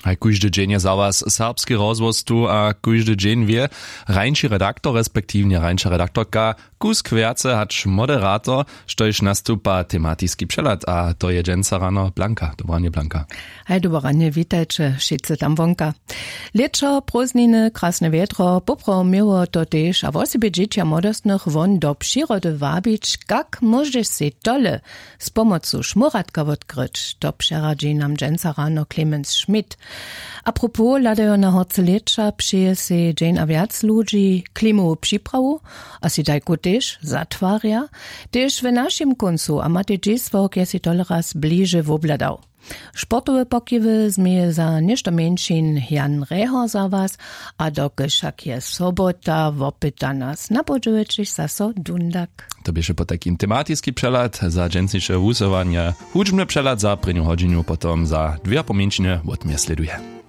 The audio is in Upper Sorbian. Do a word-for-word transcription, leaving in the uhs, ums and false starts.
Haj kóždy dźeń je za was serbski rozhłos tu a kóždy dźeń wě hrańši redaktor respektiwnje hrańša redaktorka kusk wjace hač moderator, štož nastupa tematiski přehlad a to je dźensa rano blanka dobranje blanka. Haj doboranje witajće wšitcy tam wonka. Lěćo prózdniny krasne wjedro poprawo měło to tež a wosebje dźěći a młodostnych won do přirody wabić kak móžeš sej tole z pomocu šmóratka wotkryć to přeradźi nam dźensa rano clemens schmidt. A propos hladajo na horce lěća přeje sej dźeń a wjac ludźi klimowu připrawu a sej tajku tež zatwarja. Tež w našim kóncu a matej dźisławk je sej toleraz bliže wobhladał. Sportowe pokiwy změje za něšto mjeńšin jan rehor za was. A dokelž wšak je sobota wopyta nas na podźěłećich zaso dundak. To běše potajkim tematiski přehlad za dźensniše wusyłanje. Hudźbny přehlad za prěnju hodźinu potom za dwě a po mjeńšinje wotměr slěduje.